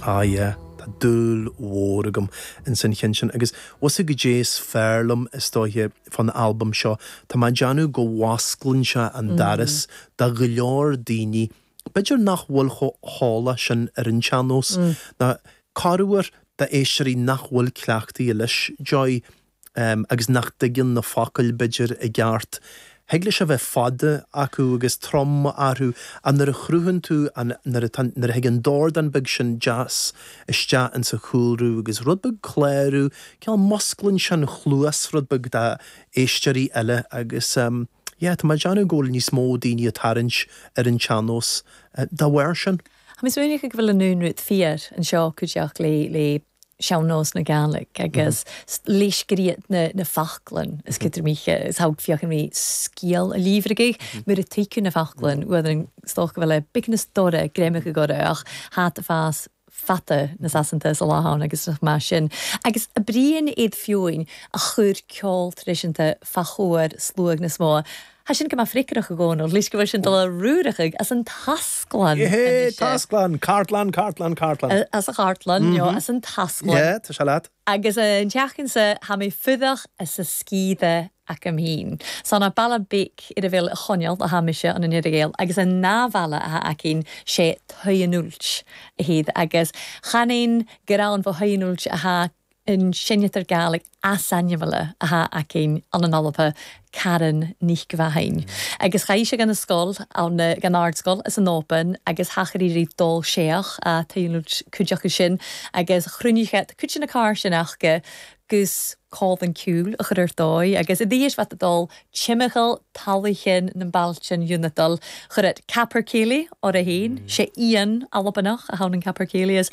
Ah yeah, tá dúil mhór agam ins an cheann sin agus bhfuil 's a'd goidé is fearr liom is dóiche fán albam seo, tá mé ag déanamh go bhfosclann sé an doras do go leor daoine b'fhéidir nach bhfuil chomh heolach sin ar an tsean-nós, ná corruair d'éisteoirí nach bhfuil cleachtaithe leis, Joy. agus nach dtuigeann na focail, b'fhéidir, i gceart. Thig leis a bheith fada acu agus trom orthu ach nuair a chruthaíonn tú an, nuair atá, nuair a thig an dordán beag sin deas isteach insa chúlra agus rud beag clárú, cineál musclaíonn sé an chluas rud beag d'éisteoirí eile agus yeah, tá mé ag déanamh go bhfuil níos mó daoine ag tarraingt ar an tsean-nós dá bharr sin. Tá mé smaoineach go bhfuil an aon rud fíor anseo cuideachta le, le sean-nós na Gàidhlig agus leis-sgriod na na faclan is cuid míche is thogh fiachan rí sgial a líomhraigh mur a tuiceadh na faclan uaidh an stoc a bheith le bic na stóra greimach i gcorra ach hat a fás fata na Sasanta sa lá ann agus nach maith sin. Agus a Brian iad fiúin a chuir ceol traidisiúnta fá chomhair sluag na smó. Tha sin go math fricarach i gComhnall, leis go bhfuil sin dul a ruarachaidh as an tasclann anois. Tasclann! Cartlann, cartlann, cartlann. As a chartlann, nó as an tasclann. Yeah, tá sé leat. Agus an tseachtain so, tha mi fuadach as a sgiobadh agam fhìn. San bealach beag ar a bhfuil a choinneal a tha mise ann an Earra-Ghael agus an ná-bhealach atha againn 'sé Tighean Ailt a hiad agus chan aon gearán fo Thigh an Ailt atha an seinntear Gàidhlig easainmle atha againn ann an Alba, Karen Nic Mhainn. Agus chaith sé gan a scoil ann, gan ardscoil as an Oban agus thachair iarraidh dul séach a Tigh an Ailt cuid acu sin agus chruinnigh sé cuid de na cairr sin acu gus cólann ceoil a chur ar dóigh agus i dtaobh bheith ag dul timcheall talaighean na mbailtean Unadal chuir it capercaillie orra fhéin, sé éan Albanach a thabhann an capercaillie is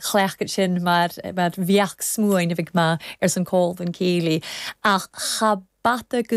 chleacht sin mar mar bheach smuain a bhig maith ars an cólann céilí ach cha bata go.